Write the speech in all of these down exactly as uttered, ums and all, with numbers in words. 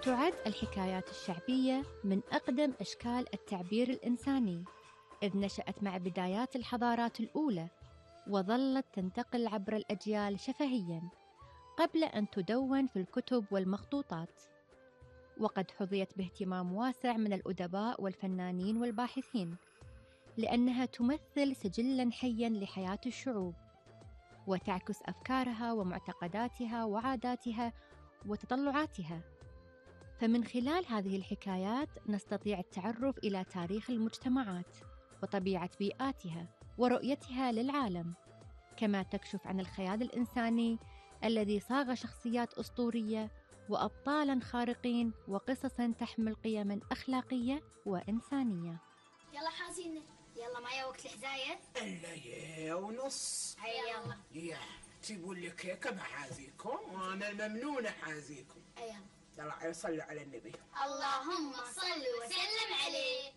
تعد الحكايات الشعبية من أقدم أشكال التعبير الإنساني، إذ نشأت مع بدايات الحضارات الأولى وظلت تنتقل عبر الأجيال شفهياً قبل أن تدون في الكتب والمخطوطات، وقد حظيت باهتمام واسع من الأدباء والفنانين والباحثين، لأنها تمثل سجلاً حياً لحياة الشعوب، وتعكس أفكارها ومعتقداتها وعاداتها وتطلعاتها. فمن خلال هذه الحكايات نستطيع التعرف إلى تاريخ المجتمعات وطبيعة بيئاتها ورؤيتها للعالم، كما تكشف عن الخيال الإنساني الذي صاغ شخصيات أسطورية وأبطالاً خارقين وقصصاً تحمل قيماً أخلاقية وإنسانية. يلا حازين، يلا معايا وقت الحزاية. إلا يا ونص. هيا يلا. يا تجيبوا لي كيكة بحازيكم وأنا الممنونة حازيكم. يلا يلا صلوا على النبي. اللهم صل وسلم عليه.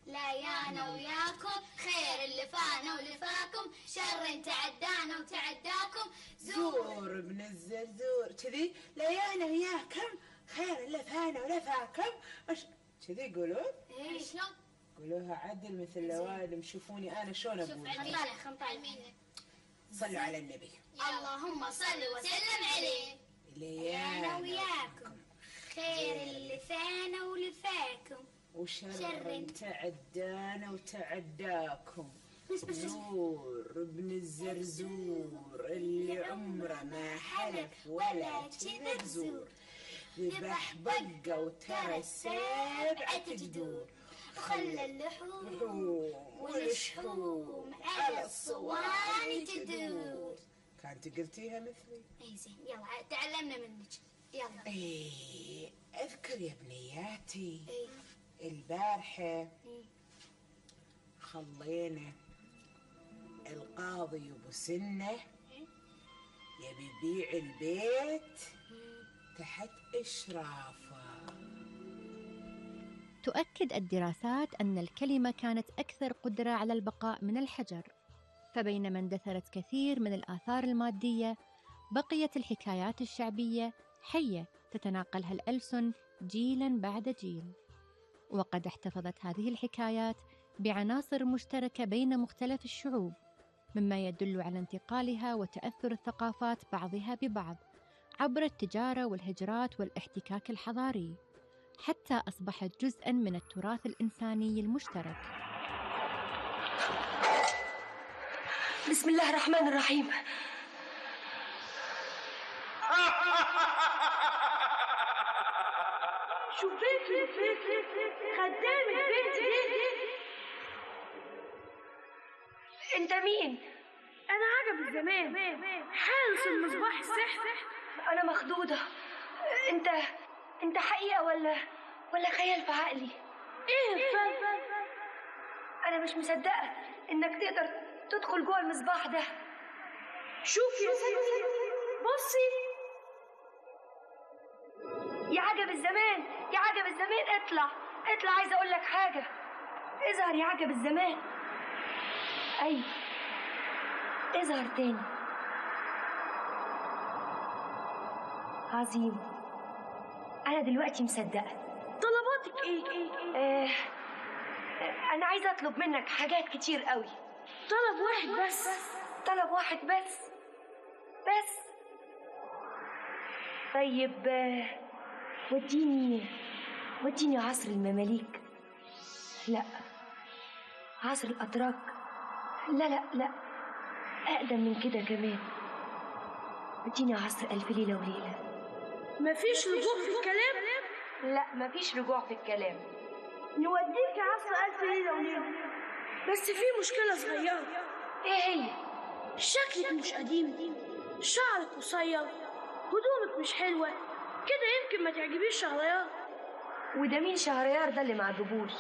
لا يانا وياكم خير اللي فانا ولفاكم، شر تعدانا وتعداكم. زور ابن الزرزور كذي. لا يانا وياكم خير اللي فانا ولفاكم كذي يقولون. ايه شلون؟ قولوها عدل مثل لوالم. شوفوني أنا شلون أقول. شوف علمينا خمطالمينا. صلوا على النبي. اللهم صل وسلم عليه. ليانا وياكم خير اللي فانا ولفاكم، وشر تعدانا وتعداكم. زور ابن الزرزور اللي عمره ما حلف ولا كذب زور، ذبح بقة وترى السبعة جدور، خلى اللحوم والشحوم على الصواني تدور. كانت قلتيها مثلي. اي زين، يلا تعلمنا منك. يلا. ايه اذكر يا بنياتي. ايه البارحة ايه خلينا القاضي أبو سنة يبي يبيع البيت تحت إشرافه. تؤكد الدراسات أن الكلمة كانت أكثر قدرة على البقاء من الحجر، فبينما اندثرت كثير من الآثار المادية، بقيت الحكايات الشعبية حية تتناقلها الألسن جيلاً بعد جيل. وقد احتفظت هذه الحكايات بعناصر مشتركة بين مختلف الشعوب، مما يدل على انتقالها وتأثر الثقافات بعضها ببعض عبر التجارة والهجرات والاحتكاك الحضاري، حتى أصبحت جزءاً من التراث الإنساني المشترك. بسم الله الرحمن الرحيم. شوفيكي خدام البيت. انت مين؟ انا عجب الزمان، حارس المصباح السحر. انا مخضوضة. انت انت حقيقة ولا ولا خيال في عقلي؟ ايه الفرق؟ انا مش مصدقة انك تقدر تدخل جوه المصباح ده. شوفي يا ستي، بصي يا عجب الزمان، يا عجب الزمان. اطلع اطلع، عايزة اقول لك حاجة. اظهر يا عجب الزمان. ايوه اظهر تاني. عظيم. انا دلوقتي مصدقة. طلباتك ايه؟ ايه آه انا عايزة اطلب منك حاجات كتير قوي. طلب واحد بس؟ طلب واحد بس بس طيب. آه وديني وديني عصر المماليك. لا، عصر الأتراك. لا لا لا، أقدم من كده كمان. وديني عصر ألف ليلة وليلة. مفيش رجوع في الكلام؟ لا، مفيش رجوع في الكلام. نوديك عصر ألف ليلة وليلة، بس في مشكلة صغيرة. ايه هي؟ شكلك مش قديم، شعرك قصير، هدومك مش حلوة كده، يمكن ما تعجبيش شهريار. وده مين شهريار ده اللي ما عجبوش؟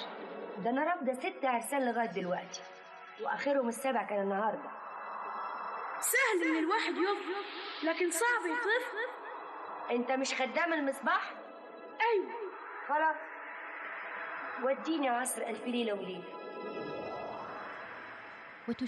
ده انا رافضه ست عرسان لغايه دلوقتي، واخرهم السبع كان النهارده. سهل ان الواحد يفرق، لكن صعب يطرف. انت مش خدام المصباح؟ ايوه. خلاص، وديني عصر ألف ليلة وليلة. وتشير